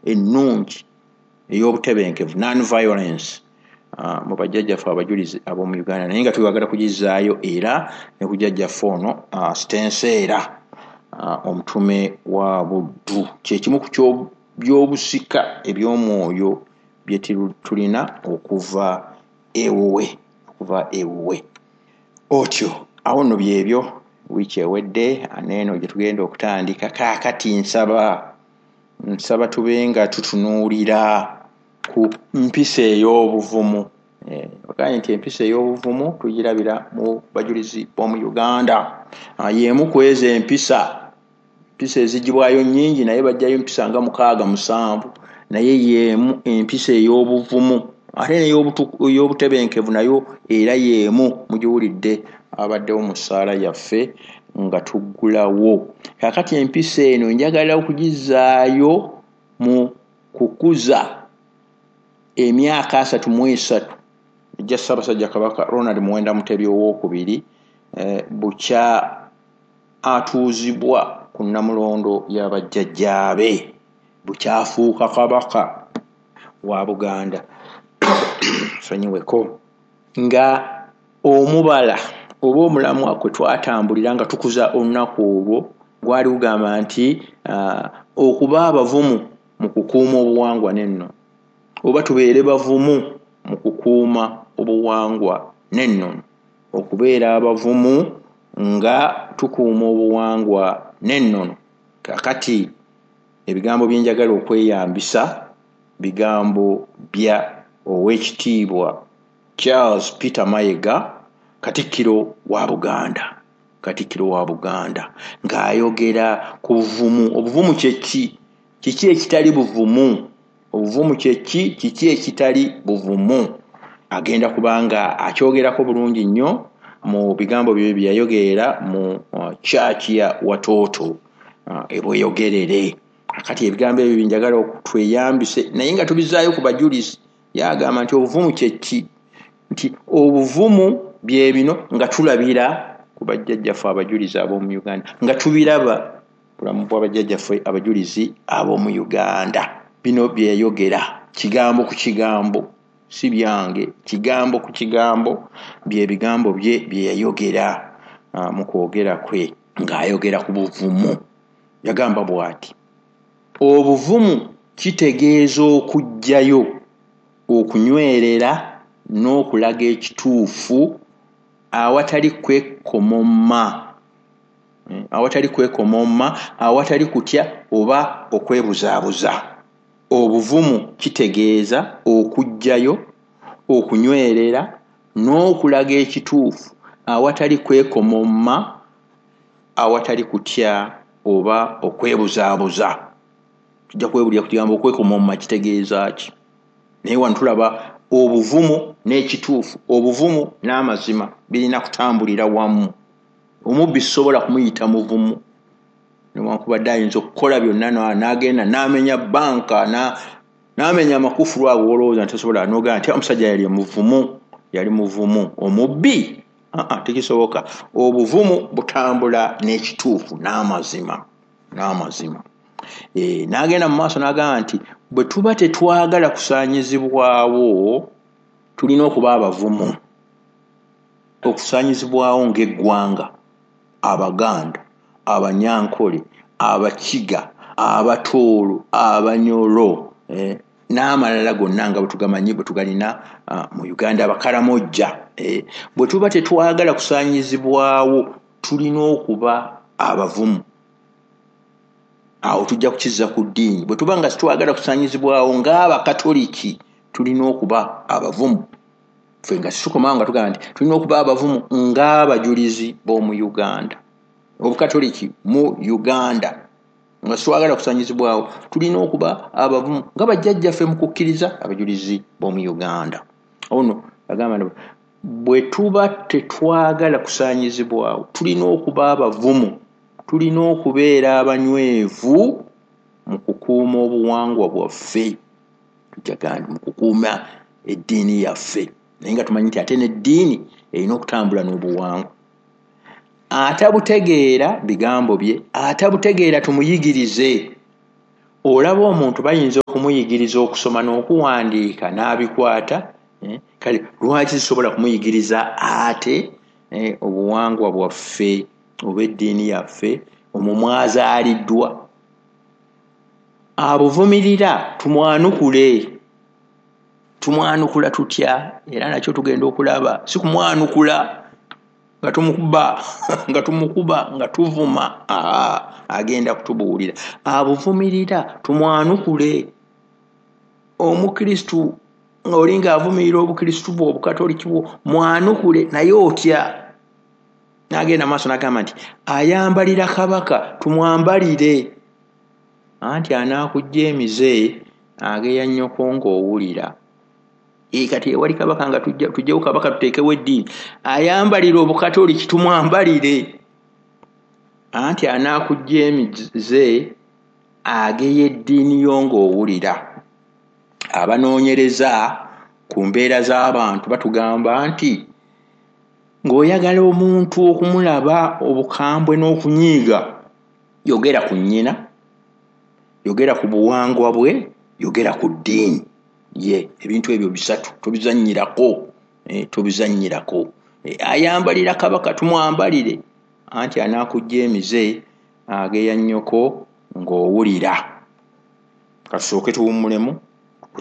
ennungi ey'obutebenkevu, non violence, mu bajjajjaffe abajulizi ab'omu Uganda, naye nga twagala kugizaayo era ne ku jjajjaffe ono Stenseera, omutume wa Buddu. Kyekimu ku byobusika eby'omwoyo bye tulina okuva ewuwe, okuva ewuwe. Otyo awo nno byebyo wiiki ewedde, aneeno gye tugenda okutandika. Kaakati nsaba tube nga tutunuulira ku mpisa ey'obuvumu. Bagambye nti empisa ey'obuvumu tugirabira mu bajulizi b'omu Uganda. Y'emu ku ezo empisa, empisa ezigibwayo nnyingi, naye bajjayo empisa nga 6 7, naye y'emu empisa ey'obuvumu. Ate n'ey'obutebenkevu nayo era y'emu, mugiwulidde abaddewo mu ssaala yaffe nga tuggulawo. Kaakati empisa eno njagala okugizaayo mu kukuza emyaka 33 ejja Ssaabasajja Kabaka Ronald Muwenda Mutebi owookubiri bukya atuuzibwa ku Nnamulondo y'abajjajjaabe, bukyafuuka Kabaka wa Buganda. Sonyiweko nga omubala oba omulamwa kwe twatambulira nga tukuza olunaku olwo gwali gugamba nti okuba abavumu mu kukuuma obuwangwa n'ennono, oba tubeere bavumu mu kukuuma obuwangwa n'ennono, okubeera abavumu nga tukuuma obuwangwa n'ennono. Kaakati ebigambo bye njagala okweyambisa bigambo bya Oweekitiibwa Charles Peter Mayiga, Katikkiro wa Buganda. Katikkiro wa Buganda ng'ayogera ku buvumu. Obuvumu kye ki? Kiki ekitali buvumu? Obuvumu kye ki? Kiki ekitali buvumu? Agenda kubanga akyogerako bulungi nnyo mu bigambo bye bye yayogerera mu church ya Watoto ebweyogerere. Kati ebigambo ebyo bye njagala okutweyambise, naye nga tubizaayo ku bajulizi. Yagamba nti obuvumu kye ki? Nti obuvumu bye bino nga tulabira ku bajjajjaffe abajulizi ab'omu Uganda, nga tubiraba bulamu bw'abajjajjaffe abajulizi ab'omu Uganda. Bino bye yayogera kigambo ku kigambo, si byange, kigambo ku kigambo bye bigambo bye bye yayogera mu kwogera kwe ng'ayogera ku buvumu. Yagamba bw'ati: obuvumu kitegeeza okuggyayo, okunywerera n'okulaga ekituufu awatali kwekomomma, awatali kwekomomma, awatali kutya oba okwebuzaabuza. Obuvumu kitegeeza okuggyayo, okunywerera n'okulaga ekituufu awatali kwekomomma, awatali kutya oba okwebuzaabuza. Tujja kwebulira ku kigambo okwekomomma kitegeeza ki, naye wano tulaba obuvumu n'ekituufu, obuvumu n'amazima birina kutambulira wamu. Omubbi sisobola kumuyita muvumu, newankubadde ayinza okukola byonna n'agenda n'amenya banka, n'amenya amakufulu ago olowooza nti tasobola, n'ogamba nti omusajja yali muvumu, yali muvumu. Omubbi tekisoboka. Obuvumu butambula n'ekituufu n'amazima, n'amazima. N'agenda mu maaso n'agamba nti bwe tuba tetwagala kusaanyizibwawo tulina okuba abavumu. Okusaanyizibwawo ng'eggwanga, Abaganda, Abanyankole, Abakiga, Abatooro, Abanyoro, n'amalala gonna nga bwe tugamanyi bwe tugalina mu Uganda, Abakaramojja. Bwe tuba tetwagala kusaanyizibwawo tulina okuba abavumu. Awo tujja kukizza ku ddiini. Bwe tuba nga sitwagala kusaanyizibwawo ng'Abakatoliki tulina okuba abavumu. Ffe nga situkomawo nga tugamba nti tulina okuba abavumu ng'abajulizi b'omu Uganda, Obukatoliki mu Uganda, nga sitwagala kusaanyizibwawo tulina okuba abavumu nga bajjajjaffe mu kukkiriza abajulizi b'omu Uganda. Ono agamba nti bwe tuba tetwagala kusaanyizibwawo tulina okuba abavumu, tulina okubeera abanywevu mu kukuuma obuwangwa bwaffe, tujja mu kukuuma eddiini yaffe, naye nga tumanyi nti ate n'eddiini erina okutambula n'obuwangwa. Atabutegeera bigambo bye, atabutegeera tumuyigirize. Olaba omuntu bayinza okumuyigiriza okusoma n'okuwandiika n'abikwata, kale lwaki zisobola kumuyigiriza ate obuwangwa bwaffe oba eddiini yaffe omwo mwazaaliddwa? Abuvumirira tumwanukule. Tumwanukula tutya? Era nakyo tugenda okulaba. Si kumwanukula nga tumukuba nga tuvuma, agenda kutubuulira. Abuvumirira tumwanukule. Omukristu oli ng'avumirira obukristu bwo, obukatoliki bwo, mwanukule naye otya? N'agenda maaso n'agamba nti ayambalira kabaka tumwambalire, anti anaakujja emize ageya nnyoko ng'owulira. Kati ewali kabaka nga tujjewo kabaka tuteekewo eddiini, ayambalira obukatoliki tumwambalire, anti anaakujja emize ageya eddiini yo ng'owulira. Abanoonyereza ku mbeera z'abantu batugamba nti ng'oyagala omuntu okumulaba obukambwe n'okunyiiga, yogera ku nnyina, yogera ku buwangwa bwe, yogera ku ddiini ye. Ebintu ebyo bisatu tobizannyirako, tobizannyirako. Ayambalira kabaka tumwambalire, anti anaakujja emize ageya nnyoko ng'owulira. Katusooke tuwummulemu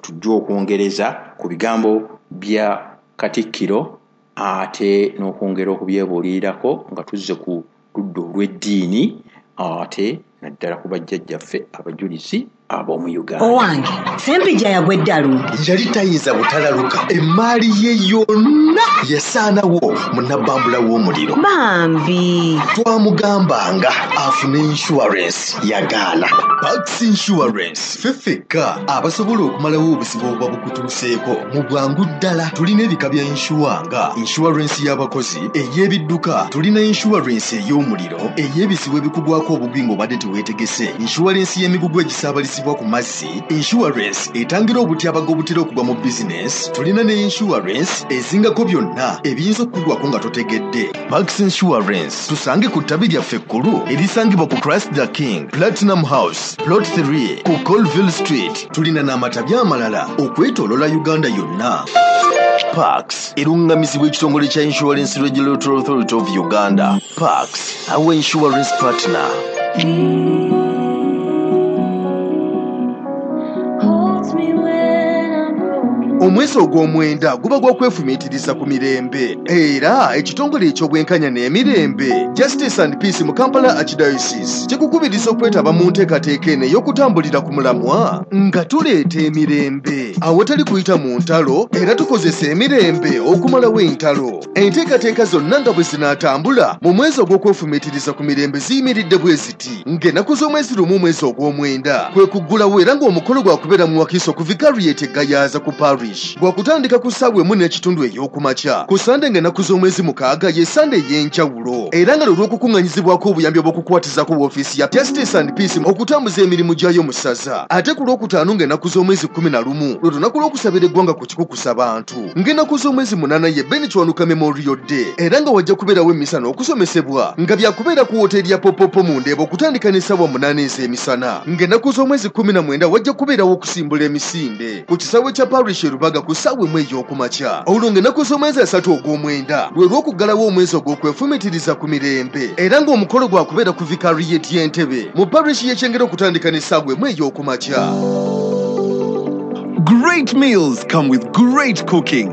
tujje okwongereza ku bigambo bya Katikkiro ate n'okwongera okubyebuulirirako nga tuzze ku ludda olw'eddiini ate naddala ku bajjajjaffe abajulizi ab'omu Uganda. Owange, Ssempijja yagwa eddalu. Yali tayinza butalaluka, emmaali ye yonna yasaanawo mu nabbambula w'omuliro. Bambi. Twamugambanga afune insurance, yagaana. Pax Insurance, ffe ffekka abasobola okumalawo obuzibu obuba bukutuuseeko mu bwangu ddala. Tulina ebika bya insure nga insurance y'abakozi, ey'ebidduka, tulina insurance ey'omuliro, ey'ebizibu ebikugwako obugwi ng'obadde teweetegese, insurance y'emigugu egisaabalizibwa ku mazzi, insurance etangira obutyabaga obutera okugwa mu bizinesi, tulina ne insurance ezingako byonna ebiyinza okukugwako nga totegedde. Pax Insurance tusange ku ttabi lyaffe ekkulu erisangibwa ku Christ the King Platinum House Plot 3 ku Colville Street. Tulina n'amatabi amalala okwetooloola Uganda yonna. Pax erungamizibwa ekitongole kya Insurance Regulatory Authority of Uganda. Pax, our insurance partner. Omwezi ogw'omwenda guba gwa kwefumiitiriza ku mirembe, era ekitongole eky'obwenkanya n'emirembe Justice and Peace mu Kampala Archdiocese kikukubiriza okwetaba mu nteekateeka eno ey'okutambulira ku mulamwa nga tuleeta emirembe awatali kuyita mu ntalo, era tukozesa emirembe okumalawo entalo. Enteekateeka zonna nga bwe zinaatambula mu mwezi ogw'okwefumiitiriza ku mirembe ziyimiridde bwe ziti: ng'ennaku z'omwezi 1 omwezi ogw'omwenda kwe kuggulawo, era ng'omukolo gwakubeera mu Wakiso ku Vicariate Gayaza ku Parish, gwakutandika ku ssaawa 1:15 ey'okumakya. Ku Sande ng'ennaku z'omwezi 6 ye Sande ey'enjawulo, era nga lwe lw'okukuŋŋanyizibwako obuyambi obw'okukwatizako woofiisi ya Justice and Peace okutambuza emirimu gyayo mu ssaza. Ate ku Lwokutaano ng'ennaku z'omwezi 11 lwe lunaku lw'okusabira eggwanga ku kikukusa bantu. Ng'ennaku z'omwezi 8 ye Ben Kiwanuka Memorial Day, era nga wajja kubeerawo emmisa n'okusomesebwa nga byakubeera ku wooteeri ya Popopo mu Ndeeba okutandika n'essaawa 8 ez'emisana. Ng'ennaku z'omwezi 19 wajja kubeerawo okusimbula emisinde ku kisaawe kya Parish Rubaga ku ssaawa 1 ey'okumakya. Olwo ng'ennaku z'omwezi 3 ogw'omwenda lwe lw'okuggalawo omwezi ogw'okwefumiitiriza ku mirembe, era ng'omukolo gwakubeera ku Vicariate y'Entebe mu parish y'Ekyengera okutandika n'essaawa 1 ey'okumakya. Great meals come with great cooking.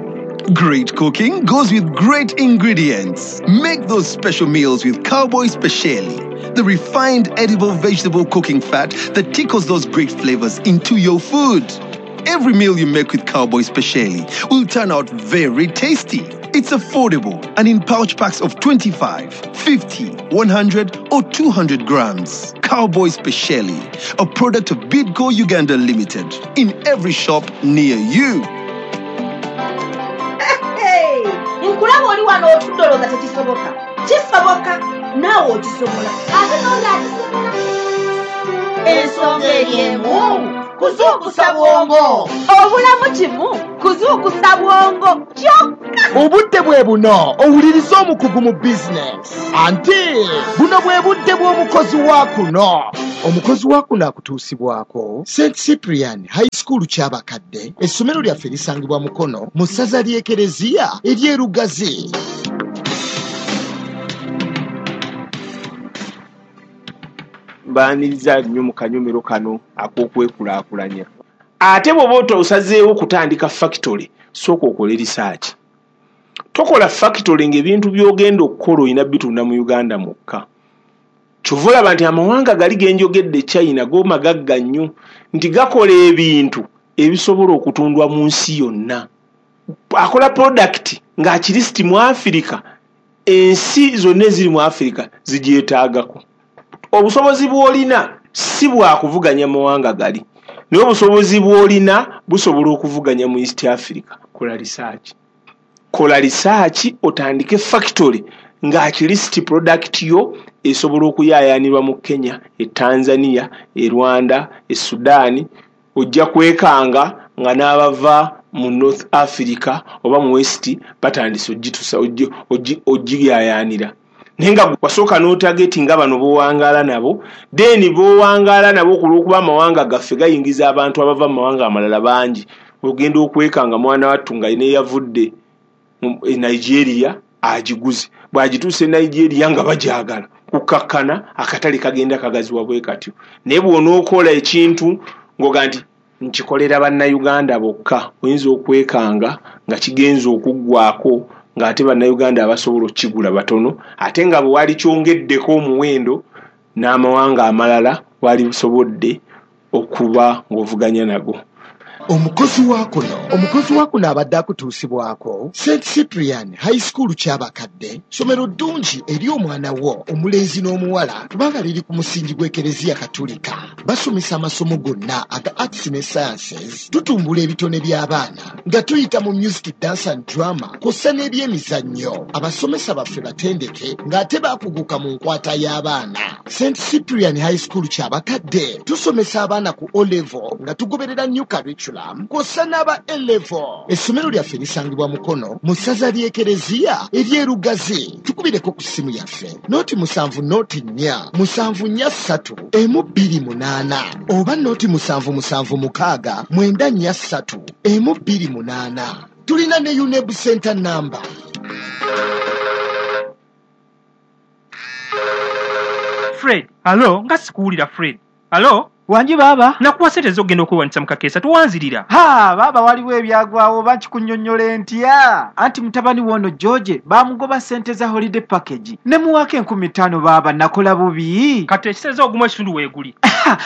Great cooking goes with great ingredients. Make those special meals with Cowboy Speciali, the refined edible vegetable cooking fat that tickles those great flavors into your food. Every meal you make with Cowboy Speciali will turn out very tasty. It's affordable and in pouch packs of 25, 50, 100 or 200 grams. Cowboy Speciali, a product of Bidco Uganda Limited, in every shop near you. Hey, nkulaba oli wano otudde olowooza tekisoboka. Kisoboka, naawe okisobola. Ate n'oli akisobola. Ensonga eri emu, kuzuukusa bwongo. Obulamu kimu, kuzuukusa bwongo kyokka. Obudde bwe buno owuliriza omukugu mu bizinesi, anti buno bwe budde bw'omukozi wa kuno. Omukozi wa kuno akutuusibwako St Cyprian High School Kyabakadde. Essomero lyaffe lisangibwa Mukono mu ssaza ly'Ekereziya ery'e Lugazi. Mbaaniriza nnyo mu kanyomero kano ak'okwekulaakulanya. Ate bw'oba osazeewo okutandika factory, sooka okole research. Tokola factory ng'ebintu by'ogenda okukola olina bitunda mu Uganda mwokka. Kyova olaba nti amawanga gali ge njogedde, China, go magagga nnyo nti gakola ebintu ebisobola okutundwa mu nsi yonna. Akola product ng'akirisiti mu Afirika, ensi zonna eziri mu Afirika zigyetaagako. Obusobozi bw'olina si bwakuvuganya mawanga gali, naye obusobozi bw'olina busobola okuvuganya mu East Africa. Kola research. Kola research otandike factory ng'akirisiti product yo esobola okuyaayaanirwa mu Kenya, e Tanzania, e Rwanda, e Sudan. Ojja kwekanga nga n'abava mu North Africa oba mu West batandise ogiyaayaanira. Naye nga wasooka n'otageti nga bano b'owangaala nabo, then b'owangaala nabo olw'okuba amawanga gaffe gayingiza abantu abava mu mawanga amalala bangi, ogenda okwekanga mwana wattu nga neyavudde e Nigeria agiguze. Bw'agituuse e Nigeria nga bagyagala, kukkakkana akatale kagenda kagaziwa bwe katyo. Naye bw'onookola ekintu ng'oga nti nkikolera Bannayuganda bokka, oyinza okwekanga nga kigenze okuggwako ng'ate Bannayuganda abasobola okukigula batono, ate nga bwe wali kyongeddeko omuwendo n'amawanga amalala wali busobodde okuba ng'ovuganya nago. Omukozi wa kuno abadde akutuusibwako St Cyprian High School Kyabakadde. Ssomero ddungi eri omwana wo omulenzi n'omuwala kubanga liri ku musingi gw'Ekereziya Katulika. Basomesa amasomo gonna aga arts ne sciences. Tutumbula ebitone by'abaana nga tuyita mu music, dance and drama kw'ossa n'ebyemizannyo. Abasomesa baffe batendeke ng'ate baakuguka mu nkwata y'abaana. St Cyprian High School Kyabakadde tusomesa abaana ku O level nga tugoberera new curriculum kw'ossa n'aba A level. Essomero lyaffe lisangibwa Mukono mu ssaza ly'Ekereziya ery'e Lugazi. Tukubireko ku ssimu yaffe 070 04 743 128 oba 077 694 128. Tulina ne UNEB Center number. Fred, alo, nga sikuwulira Fred. Alo? Wangi baaba. Nakuwa ssente z'ogenda okwewandiisa mu kakeesa, towanzirira. Ha, baaba waliwo ebyagwawo oba nkikunnyonnyola ntya? Anti mutabani w'ono George baamugoba ssente za holiday package. Ne muwaako 5,000 baaba, nakola bubi. Kati ekiseza ogumu ekitundu weeguli.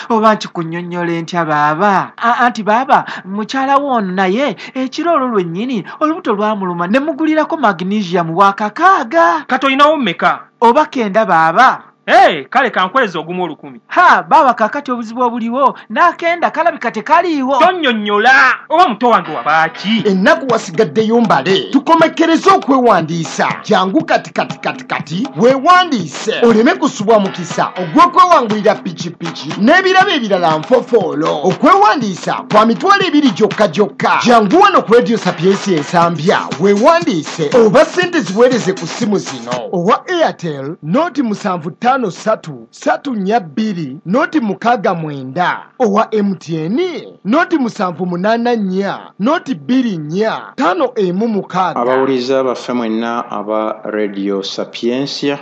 Oba nkikunnyonnyola ntya baaba? Anti baaba, mukyala w'ono naye ekiro olwo lwennyini olubuto lwamuluma ne mugulirako magnesium wa 6. Kati olinawo mmeka? Oba 9 baaba. Hey, kale kankweza ogumu 1,000. Ha, baaba kaakati obuzibu obuliwo n'akenda kalabika tekaliiwo. Tonnyonnyola oba muto wange wabaaki? Ennaku wasigaddeyo mbale. Tukomekkereze okwewandiisa. Jangu kati kati kati kati weewandiise oleme kusubwa mukisa ogw'okwewangulira pikipiki n'ebirabo ebirala nfofoolo. Okwewandiisa kwa 2,000 gyokka gyokka. Jangu wano ku Radio Sapientia Ensambya weewandiise oba ssente ziweereze ku ssimu zino: owa Airtel 075 3 342 069, owa MTN 078 4 024 516. Abawuliza baffe mwenna aba Radio Sapientia,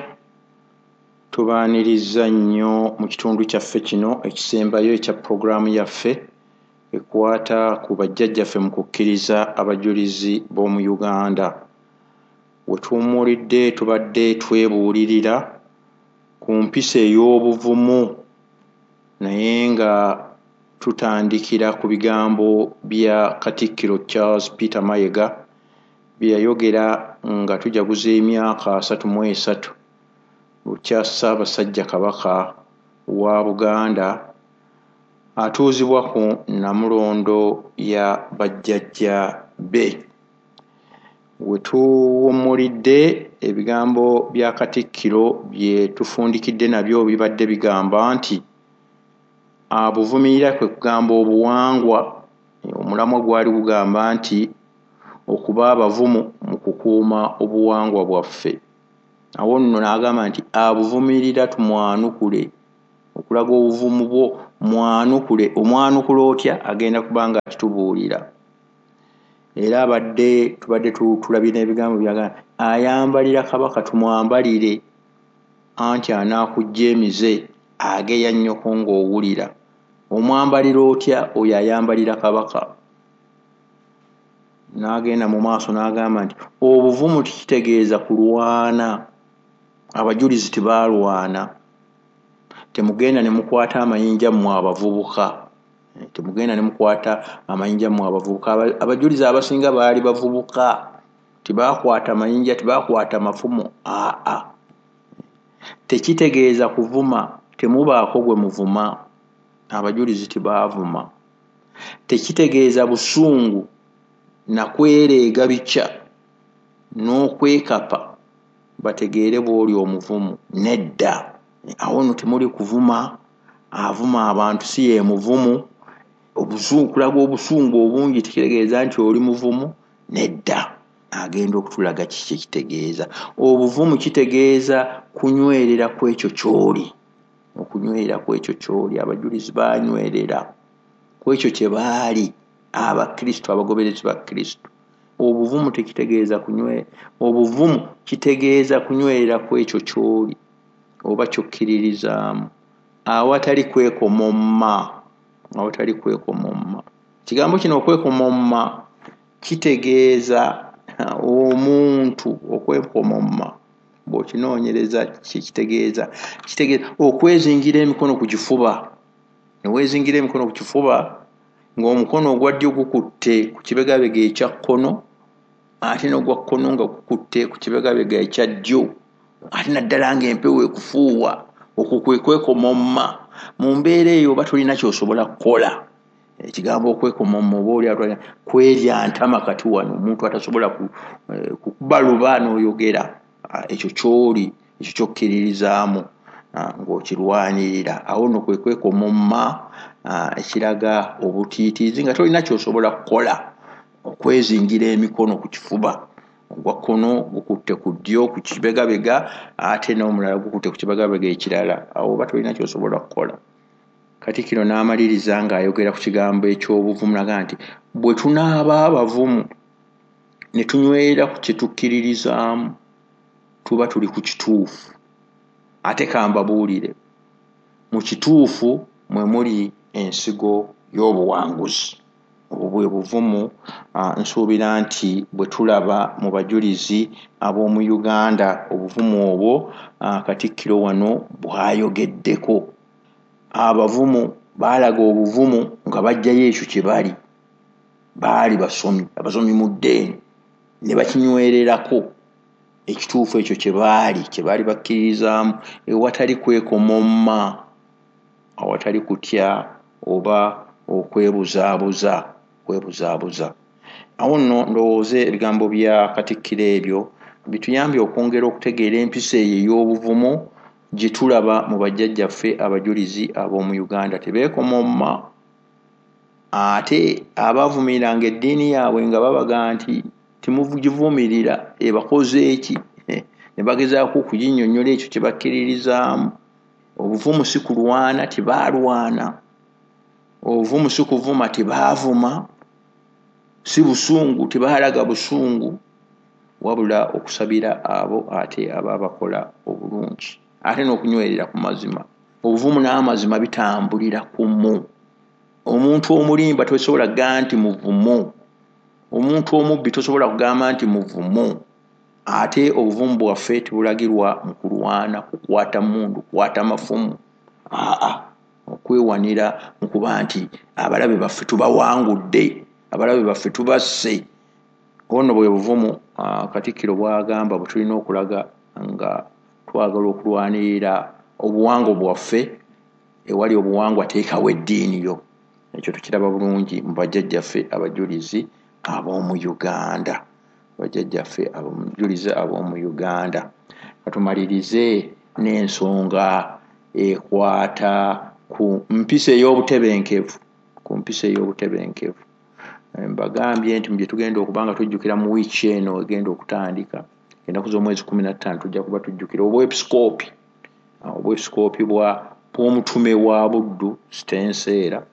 tubaaniriza nnyo mu kitundu kyaffe kino ekisembayo ekya pulogulaamu yaffe ekwata ku bajjajjaffe mu kukkiriza abajulizi b'omu Uganda. We tuwummulidde tubadde twebuulirira ku mpisa ey'obuvumu, naye nga tutandikira ku bigambo bya Katikkiro Charles Peter Mayiga bye yayogera nga tujaguza emyaka 33 bukya Ssaabasajja Kabaka wa Buganda atuuzibwa ku Nnamulondo ya bajjajja be. We tuwummulidde ebigambo bya Katikkiro bye tufundikidde nabyo bibadde bigamba nti abuvumirira kwe kugamba obuwangwa. Omulamwa gwali gugamba nti okuba abavumu mu kukuuma obuwangwa bwaffe. Awo nno n'agamba nti abuvumirira tumwanukule Okulaga obuvumu bwo mwanukule, omwanukula otya agenda kuba nga akitubuulira. Era abadde tubadde tulabye n'ebigambo byagamba ayambalira Kabaka tumwambalire, anti anaakujja emize ageya nnyoko ng'owulira. Omwambalira otya oyo ayambalira Kabaka? N'agenda mu maaso n'agamba nti obuvumu tikitegeeza kulwana, abajulizi tebaalwana. Temugenda ne mukwata amayinja mmwe abavubuka, temugenda ne mukwata amayinja mmwe abavubuka. Abajulizi abasinga baali bavubuka, tebaakwata mayinja, tebaakwata mafumu. Aa, tekitegeeza kuvuma, temubaako gwe muvuma, abajulizi tebaavuma. Tekitegeeza busungu na kwereega bikya n'okwekapa bategeere bw'oli omuvumu. Nedda, awo nno temuli kuvuma, avuma abantu si ye muvumu. Okulaga obusungu obungi tekitegeeza nti oli muvumu. Nedda, agenda okutulaga kiki ekitegeeza. Obuvumu kitegeeza kunywerera ku ekyo ky'oli, okunywerera ku ekyo ky'oli. Abajulizi baanywerera ku ekyo kye baali, Abakristo, abagoberezi ba Kristo. Obuvumu tekitegeeza kunywe, obuvumu kitegeeza kunywerera ku ekyo ky'oli oba ky'okkiririzaamu, awatali kwekomomma, awatali kwekomomma. Ekigambo kino okwekomomma kitegeeza omuntu okwekomomma. Bw'okinoonyereza kikitegeeza, kitegeeza okwezingira emikono ku kifuba. Ne weezingira emikono ku kifuba ng'omukono ogwa ddyo gukutte ku kibegabega ekya kkono, ate n'ogwa kkono nga gukutte ku kibegabega ekya ddyo, ate naddala ng'empewo ekufuuwa. Okwo kwe kwekomomma. Mu mbeera eyo oba tolina ky'osobola kukola. Ekigambo okwekomomma oba oli atwala kwerya ntama kati wano, omuntu atasobola kukuba luba n'oyogera. Ekyo ky'oli, ekyo ky'okkiririzaamu ng'okirwanirira. Awo nno kwe kwekomomma ekiraga obutiitiizi nga tolina ky'osobola kukola. Okwezingira emikono ku kifuba, ogwa kkono gukutte ku ddyo ku kibegabega, ate n'omulala gukutte ku kibegabega ekirala. Awo oba tolina ky'osobola kukola. Katikkiro n'amaliriza ng'ayogera ku kigambo eky'obuvumu n'agamba nti bwe tunaaba abavumu ne tunywerera ku kye tukkiririzaamu, tuba tuli ku kituufu. Ate kambabuulire, mu kituufu mwe muli ensigo y'obuwanguzi. Obwo bwe buvumu nsuubira nti bwe tulaba mu bajulizi ab'omu Uganda. Obuvumu obwo Katikkiro wano bw'ayogeddeko. Abavumu baalaga obuvumu nga baggyayo ekyo kye bali. Baali basomi, abasomi mu ddeeni, ne bakinywererako ekituufu ekyo kye baali bakkiririzaamu, ewatali kwekomomma, awatali kutya oba okwebuzaabuza, kwebuzaabuza. Awo nno ndowooza ebigambo bya Katikkiro ebyo bituyambye okwongera okutegeera empisa eyo ey'obuvumu gye tulaba mu bajjajjaffe abajulizi ab'omu Uganda. Tebeekomomma, ate abaavumiriranga eddiini yaabwe nga babaga nti temugivumirira, ebakoze eki, ne bagezaako okuginnyonnyola ekyo kye bakkiririzaamu. Obuvumu si kulwana, tebaalwana. Obuvumu si kuvuma, tebaavuma. Si busungu, tebaalaga busungu, wabula okusabira abo ate abaabakola obulungi, ate n'okunywerera ku mazima. Obuvumu n'amazima bitambulira kumu. Omuntu omulimba tosobola kugamba nti muvumu, omuntu omubbi tosobola kugamba nti muvumu. Ate obuvumu bwaffe tebulagirwa mu kulwana, kukwata mmundu, kukwata mafumu, aa, okwewanira mu kuba nti abalabe baffe tubawangudde, abalabe baffe tubasse. Ono bwe buvumu Katikkiro bw'agamba bwe tulina okulaga nga twagala okulwanirira obuwangwa bwaffe. Ewali obuwangwa teekawo eddiini yo. Ekyo tukiraba bulungi mu bajjajjaffe abajulizi ab'omu Uganda, bajjajjaffe abajulizi ab'omu Uganda. Katumalirize n'ensonga ekwata ku mpisa ey'obutebenkevu, ku mpisa ey'obutebenkevu. Mbagambye nti mu bye tugenda okuba nga tujjukira mu wiiki eno egenda okutandika, ennaku z'omwezi 15, tujja kuba tujjukira obwepisikoopi, obwepisikoopi bwa bw'omutume wa Buddu Stenseera,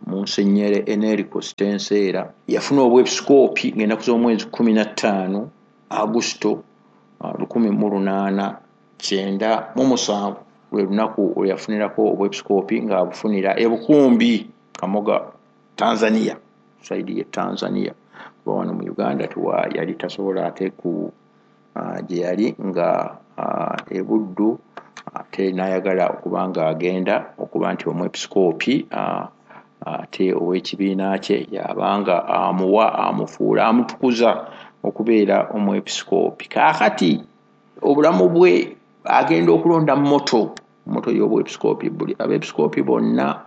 Munsenyere Enerico Stenseera. Yafuna obwepisikoopi ng'ennaku z'omwezi 15 Agusto 1897, lwe lunaku lwe yafunirako obwepisikoopi ng'abufunira e Bukumbi, Kamoga, Tanzania, saidi ye Tanzania, kuba wano mu Uganda yali tasobola ate ku gye yali nga e Buddu, ate n'ayagala okuba nga agenda okuba nti omwepisikoopi ate ow'ekibiina kye yabanga amuwa, amufuula, amutukuza okubeera omwepisikoopi. Kaakati obulamu bwe agenda okulonda moto y'obwepisikoopi. Buli abeepisikoopi bonna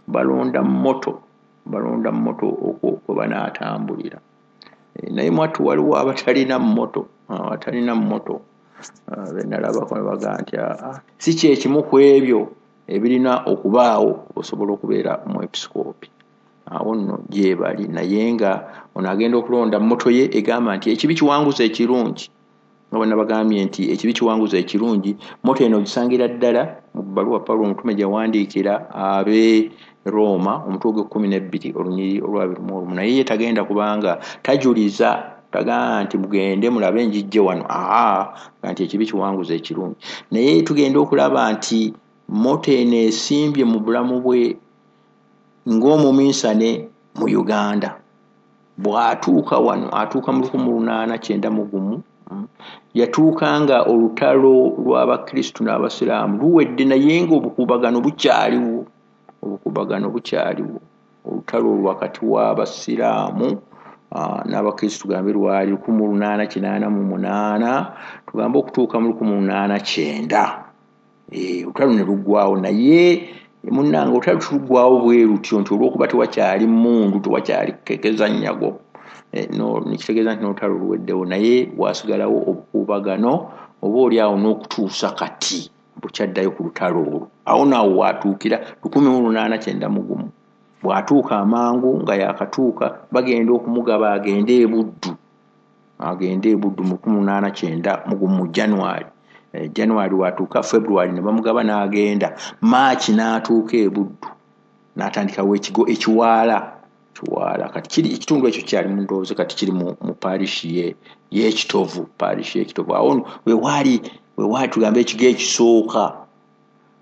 balonda moto okwo kwe banaatambulira. Naye mwattu waliwo abatalina moto benalabako ne bagamba nti si kyekimu ku ebyo ebirina okubaawo osobola okubeera omwepisikoopi. Awo nno gye bali, naye nga ono agenda okulonda moto ye egamba nti ekibi kiwanguza ekirungi, nga bonna bagambye nti ekibi kiwanguza ekirungi. Moto eno ogisangira ddala mu bbaluwa Pawulo omutume gye yawandiikira ab'e Rooma, omutwe ogw'e12 olunyiriri olwa 21. Naye ye tagenda kubanga tajuliza, tagaamba nti mugende mulabe njijje wano, nti ekibi kiwanguza ekirungi. Naye tugenda okulaba nti moto eno esimbye mu bulamu bwe ng'omuminsane mu Uganda. Bw'atuuka wano, atuuka mu 1891, yatuuka nga olutalo lw'Abakristu n'Abasiraamu luwedde, naye ng'obukuubagano bukyaliwo. Olutalo wakati w'Abasiraamu n'Abakristu tugambe lwali 1888 tugambe okutuuka mu 1890. Olutalo ne luggwawo, naye munnange olutalo tuluggwawo bwe lutyo nti olw'okuba tewakyali mmundu, tewakyali kukekeza nnyago, nekitegeeza nti n'olutalo luweddewo, naye wasigalawo obukuubagano oba oli awo n'okutuusa kati bukyaddayo ku lutalo olwo. Awo naawo waatuukira 1891. Bw'atuuka amangu nga yakatuuka, bagenda okumugaba agende e Buddu mu 1891 mu January. January watuuka, February ne bamugaba n'agenda, March n'atuuka e Buddu n'atandikawo ekigo ekiwaala. Kati kiri ekitundu ekyo kyali mu ndowooza, kati kiri mu parish y'Ekitovu, parish y'Ekitovu. Awo wewaali tugambe ekigo ekisooka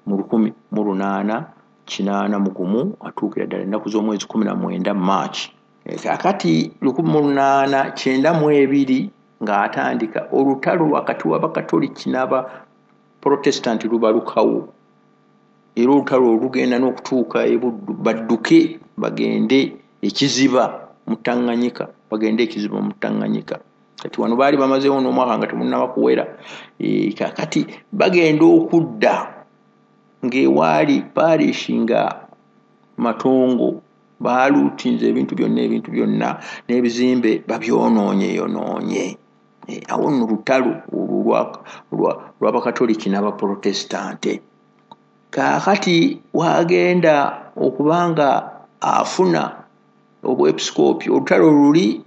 mu 1881, atuukira ddala ennaku z'omwezi 19 March. Kaakati 1892 ng'atandika olutalo wakati w'Abakatoliki n'Abaprotestant lubalukawo, era olutalo olugenda n'okutuuka e Buddu, badduke bagende ekiziba mu Tanganyika, Kati wano baali bamazeewo n'omwaka nga temunnaba kuwera. Kaakati bagenda okudda ng'ewaali parish nga matongo, baaluutinze ebintu byonna n'ebizimbe babyonoonye. Awo nno lutalo olwo lw'Abakatoliki n'Abaprotestante. Kaakati wagenda okubanga afuna obwepisikoopi, olutalo luli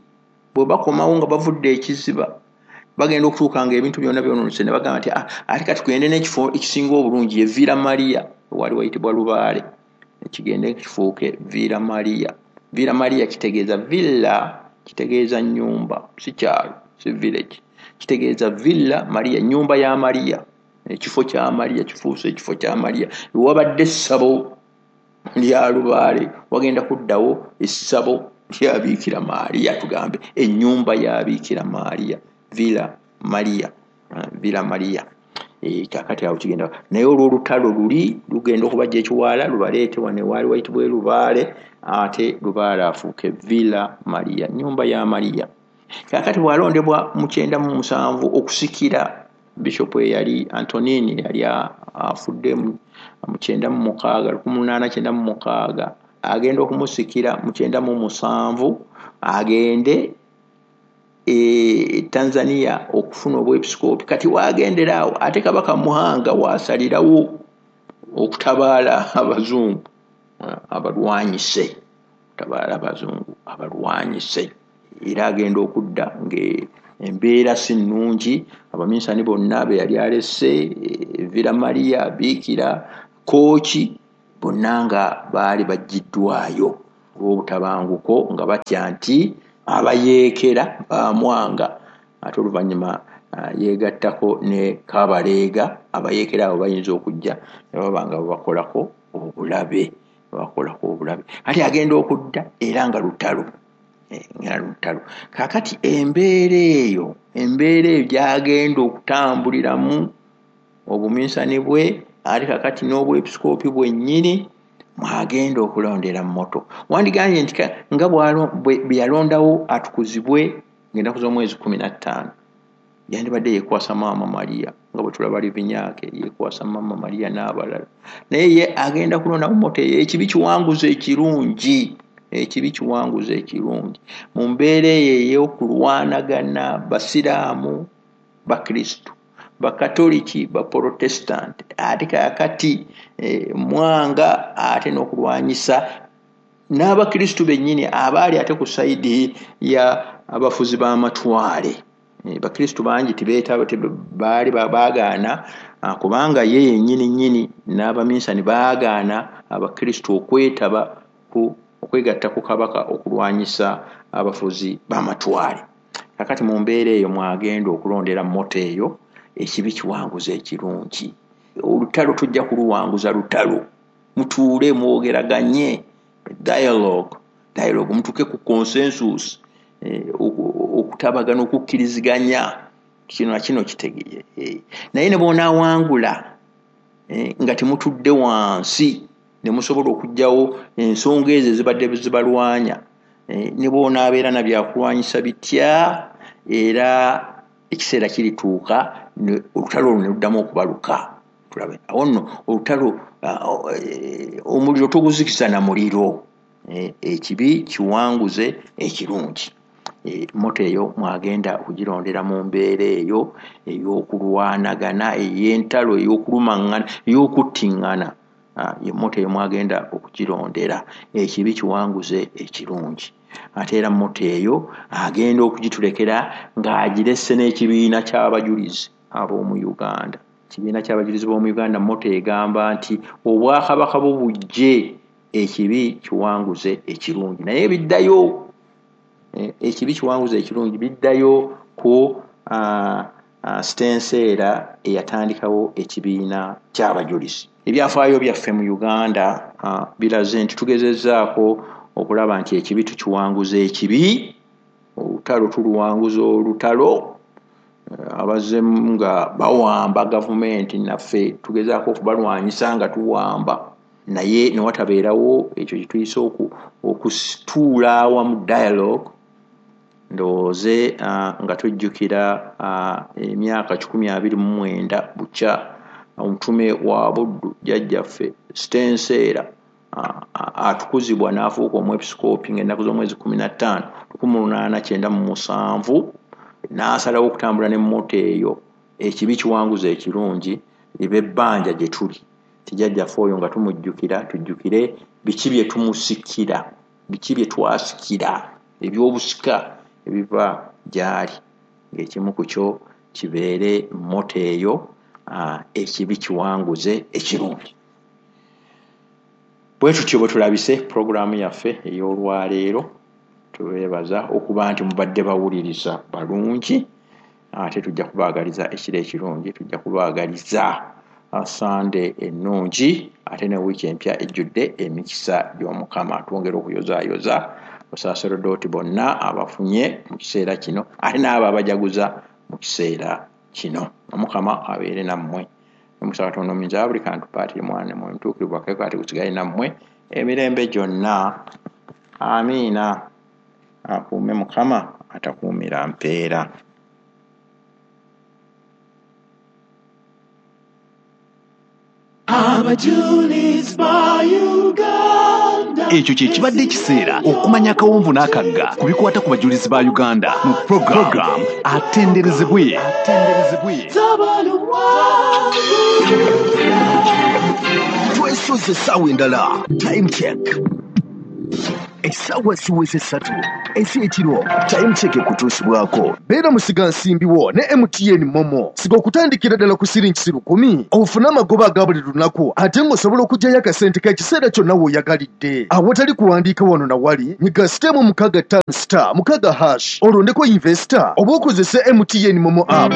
bwe bakomawo nga bavudde ekiziba, bagenda okutuuka nga ebintu byonna byonoonese, ne bagamba nti ate kati tugende n'ekifo ekisinga obulungi ye Villa Maria, waali wayitibwa Lubaale, ekigende kifuuke Villa Maria. Villa Maria kitegeeza villa, kitegeeza nnyumba, si kyalo, si village, kitegeeza Villa Maria, nnyumba ya Maria, ekifo kya Maria, kifuuse ekifo kya Maria. Wabadde essabo lya Lubaale, wagenda kuddawo essabo lya Biikira Maria, tugambe ennyumba ya Biikira Maria, Villa Maria, Villa Maria. Kaakati awo kigenda, naye olw'olutalo luli lugenda okubajja ekiwaala lubaleete wano ewaali wayitibwa Lubaale, ate Lubaale afuuke Villa Maria, nnyumba ya Maria. Kaakati bw'alondebwa mu 97 okusikira Bishop eyali Antonini, yali afudde mu 96, 1896, agenda okumusikira mu 97 agende e Tanzania okufuna obwepisikoopi. Kati wagendera awo ate Kabaka Muhanga waasalirawo okutabaala abazungu abalwanyise, era agenda okudda ng'embeera si nnungi, abaminsani bonna be yali alese, Villa Maria, Biikira, Kooki, bonna nga baali baggiddwayo olw'obutabanguko nga batya nti abayeekera bamwanga. Ate oluvannyuma yeegattako ne Kabaleega, abayeekera abo bayinza okujja ne baba nga babakolako obulabe, babakolako obulabe. Ate agenda okudda era nga lutalo, nga lutalo. Kaakati embeera eyo gy'agenda okutambuliramu obuminsani bwe, ate kaakati n'obwepisikoopi bwennyini mwagenda okulondera mmoto. Wandigambye nti nga bwe yalondawo atukuzibwe ng'ennaku z'omwezi 15, yandibadde yeekwasa Maama Maria, nga bwe tulaba Livinyaake yeekwasa Maama Maria n'abalala. Naye ye agenda kulonda mmoto eyo. Ekibi kiwanguza ekirungi, ekibi kiwanguza ekirungi. Mu mbeera eyo ey'okulwanagana basiraamu, bakristu, bakatoliki, baprotestant, ate kaakati Mwanga ate n'okulwanyisa n'abakristu bennyini abaali ate ku sayidi ya abafuzi b'amatwale. Bakristu bangi tibeetaba, baali baagaana, kubanga ye yennyini nnyini n'abaminsani baagaana abakristu okwetaba ku okwegatta ku kabaka okulwanyisa abafuzi b'amatwale. Kakati mu mbeera eyo mwagenda okulondera mmoto eyo, ekibi kiwanguza ekirungi. Olutalo tujja kuluwanguza lutalo, mutuule mwogeraganye, dialogue, mutuuke ku consensus, okutabagana, okukkiriziganya, kino na kino kitegeere. Naye ne bw'onaawangula nga temutudde wansi ne musobola okuggyawo ensonga ezo ezibadde zibalwanya, ne bw'onaabeera na byakulwanyisa bitya, era ekiseera kirituuka olutalo olwo ne luddamu okubaluka. Tulabe awo nno olutalo, omuliro toguzikiza na muliro. Ekibi kiwanguze ekirungi. Mmoto eyo mwagenda okugirondera mu mbeera eyo ey'okulwanagana, ey'entalo, ey'okulumaŋŋana, ey'okuttiŋŋana. Mmoto eyo mwagenda okugirondera. Ekibi kiwanguze ekirungi. Ate era mmoto eyo agenda okugitulekera ng'agiresse n'ekibiina ky'abajulizi ab'omu Uganda. Ekibiina ky'abajulizi b'omu Uganda, mmoto egamba nti obwakabaka bwo bujje, ekibi kiwanguze ekirungi. Naye biddayo, ekibi kiwanguze ekirungi biddayo ku Stenseera eyatandikawo ekibiina ky'abajulizi. Ebyafaayo byaffe mu Uganda biraze nti tugezezzaako okulaba nti ekibi tukiwanguza ekibi, olutalo tuluwanguza olutalo. Abazzemu nga bawamba gavumenti, naffe tugezaako okubalwanyisa nga tuwamba, naye ne watabeerawo ekyo kye tuyise okusituula awamu, dialogue. Ndowooze nga tujjukira emyaka 129 bukya omutume wa Buddu jjajjaffe Stenseera atukuzibwa n'afuuka omwepisikoopi ng'ennaku z'omwezi 15 1897, n'asalawo okutambula n'emmoto eyo. Ekibi kiwanguza ekirungi libe ebbanja gye tuli. Tijjajjaffe oyo nga tumujjukira, tujjukire biki bye tumusikira, biki bye twasikira, eby'obusika ebiva gy'ali, ng'ekimu ku kyo kibeere mmoto eyo, ekibi kiwanguze ekirungi. Bwe tutyo bwe tulabise pulogulaamu yaffe ey'olwaleero. Tubeebaza okuba nti mubadde bawuliriza balungi, ate tujja kubaagaliza ekiro ekirungi, tujja kubaagaliza Sande ennungi, ate ne wiiki empya ejjudde emikisa gy'Omukama. Twongera okuyozaayoza basaserodooti bonna abafunye mu kiseera kino, ate n'abo abajaguza mu kiseera kino. Omukama abeere nammwe. Omukisa Katonda omuyinza wa buli kantu, Paatiri, Mwana ne Mwoyo Mutuukirivu, akeeko ate gusigale nammwe emirembe gyonna. Amiina. Akuume Mukama atakuumira mpeera. Abajulizi ba Uganda. Ekyo kye kibadde ekiseera okumanya akawonvu n'akagga ku bikwata ku bajulizi ba Uganda mu program Atenderezebwe. Twesoze essaawa endala. Time check. Essaawa ziweze 3 ez'ekiro. Time Check ekutuusibwako. Beera musigansimbi wo ne MTN Momo. Siga okutandikira ddala ku siringi 10,000 ofune amagoba aga buli lunaku, ate ng'osobola okuggyayo akasente k'ekiseera kyonna w'oyagalidde. Awatali kuwandiika wano na wali, nyiga *656*6# olondeko investor oba okozese MTN Momo app.